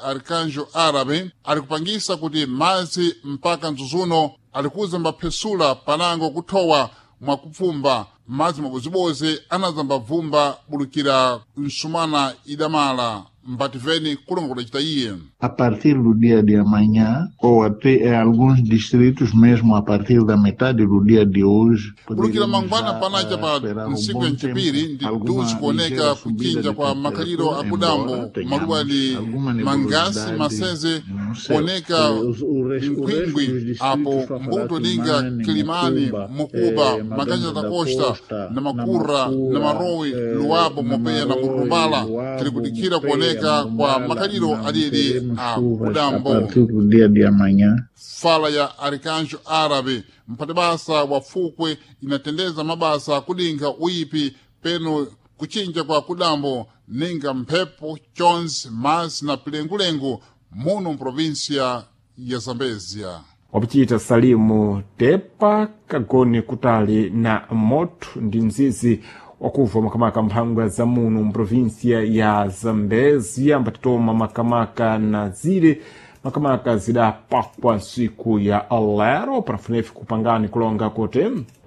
Arkanjo Árabe alikupangisa kuti madzi mpaka mzuzuno alikuza mbaphesula panango kuthowa mwakupfumba madzi mabozibozi anazambabvumba bulukira msumana idamala mbativeni kulonga kudacita iye. A partir do dia de amanhã, ou até em alguns distritos mesmo a partir da metade do dia de hoje, bulukira poderemos mangwana já panaca pa esperar um ntsiku bom ya mcipiri tempo, ndi alguma duzi kuoneka ligeira subida kucinja de kwa makhaliro temperatura, akudambo embora maluwa tenhamos ali alguma mangasi nebulosidade masenze no céu. kuoneka O resto mkwingwi dos distritos apo mbuto linga Fafarati, Kilimani, Mucuba, Mukuba, Makanja Maganja da da Costa, Costa, na Makura, na Namakura, Marowi, Luabo, Mopeya na Namarowe, Murumbala tili Luabo, kudikira Mopeia, kuoneka kwa Marumbala, makhaliro não alili teremos a chuvas a kudambo. partir do dia de amanhã. Fala ya Arkanjo Árabe mphatibasa wa fukwe inatendeza mabasa kudinkha uyipi peno kuchinja kwa kudambo ninga mphepo chonzi madzi na pilengulengu muno mprovinsia ya Zambezia. Wapichita Salimu Tepa kagone kutali na moto ndi mzizi wakubva makamaka mphangwa za muno mprovinsia ya Zambezia mbatitoma makamaka na zile makamaka zidapakwa nsiku ya lero panafunefi kupangani kulonga kuti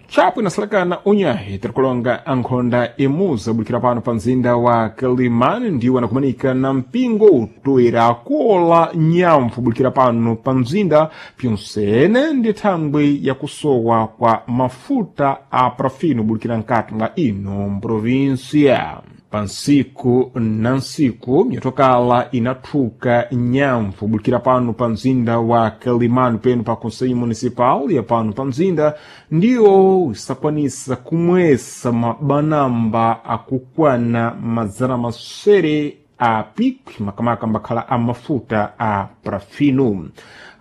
chapo inasalakana unyahi tirikulonga ankhonda imuza bulikira pano pa mzinda wa Kilimani ndiwo anakumanika na mpingo utoera kuola nyamvu bulikira pano pa mzinda pyonsene ndi thangwi yakusowa kwa mafuta a parafino bulikira nkati mwa ino mprovinsia. Pansiku na nsiku myatokala inathuka nyamvu bulikira pano pa mzinda wa Kilimani peno pa Conselho Municipal ya pano pa mzinda ndiyo isakwanisa kumwesa mabanamba akukwana mazana masere a pikwi makamaka mbakhala a mafuta a parafino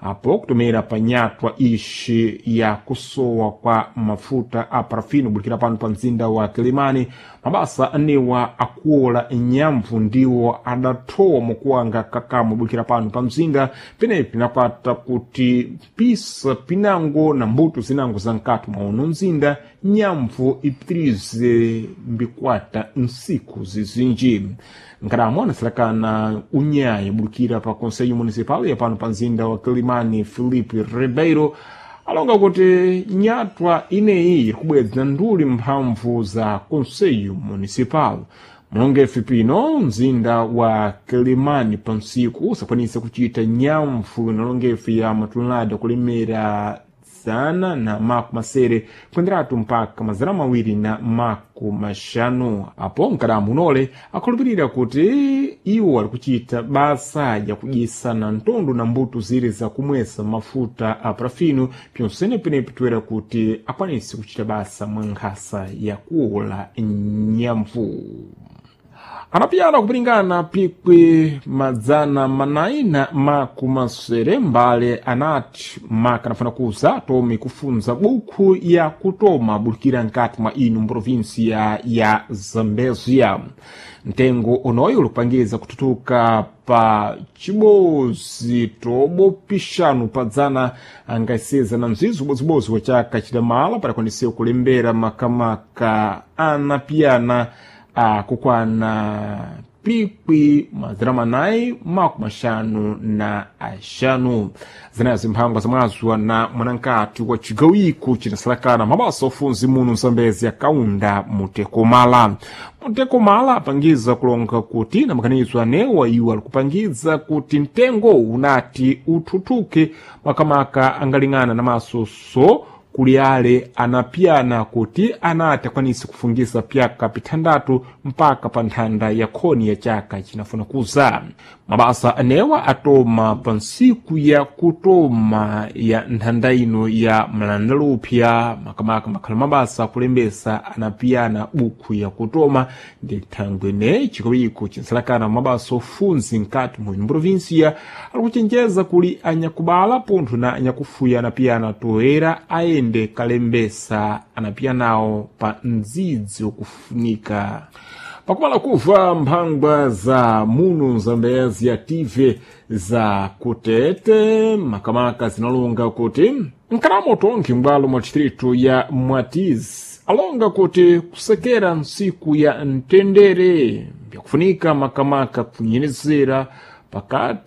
apo kutomera panyatwa ixi ya kusowa kwa mafuta a parafino bulikira pano pa mzinda wa Kilimani mabasa anewa akuola nyamvu ndiwo adathowa mukuwanga kakamo bulikira pano pa mzinda penepi napata kuti pisa pinango na mbuto zinango za nkati mwa uno mzinda nyamvu ipitirize mbikwata nsiku zizinji. Nkaramo anasalakana unyayi bulikira pa Conselho Municipal ya pano pa mzinda wa Kilimani Filipe Ribeiro alonga kuti nyatwa ineyi iri kubwedza nduli mphamvu za Conselho Municipal. Mulongefe pino mzinda wa Kilimani pansiku usakwanisa kuchita nyamvu inalongefe ya matonelada kulemera 160 kuenderatu mpaka 250. Apo mkadamu unole akhulupirira kuti iwo ali kuchita basa yakudyesa na ntondo na mbuto zire zakumwesa mafuta a parafino pyonsene penepi toera kuti akwanise kuchita basa mwa nkhasa yakuola nyamvu. Anapiyana kupilingana pikwi 470 mbale anati maka anafuna kuza tome kufunza bukhu ya kutoma bulikira nkati mwa ino mprovinsia ya Zambezia. Mtengo unoyu ulikupangiza kututuka pa chibozi tobo pixanu padzana angaseza na mzizi ubozibozi wa chaka chidamala padakwanisiwa kulembera makamaka anapiyana akukwana pikwi 455. Zinazo mphangwa zamwazwa na mwanankati wa cigawiko cinasalakana mabasa ofunzi muno msambezi akaunda mutekomala. Mutekomala apangiza kulonga kuti na makhanizo anewa iwo alikupangiza kuti mtengo unati uthuthuke makamaka angaling'ana na masoso kuli ale anapiyana kuti anati akwanise kufungisa pyaka pithandatu mpaka pa nthanda ya khoni ya chaka chinafuna kuza. Mabasa anewa atoma pa nsiku ya kutoma ya nthanda ino ya mlandalupya makamaka makhala mabasa akulembesa anapiyana bukhu ya kutoma ndi thangwe ne chikowiko chinsalakana mabasa ofunzi nkati mu provinsia alikuchenjeza kuli anyakubala pontho na anyakufuya anapiyana toera ayende kalembesa anapiyanawo pa mdzidzi wokufunika. Pakumala kuva mphangwa za muno Zambezia tive za kutete makamaka zinalonga kuti nkalamo tonkhe m'bwalo mwa distrito ya Mwatizi alonga kuti kusekera ntsiku ya mtendere byakufunika makamaka kunyenezera. Pakati.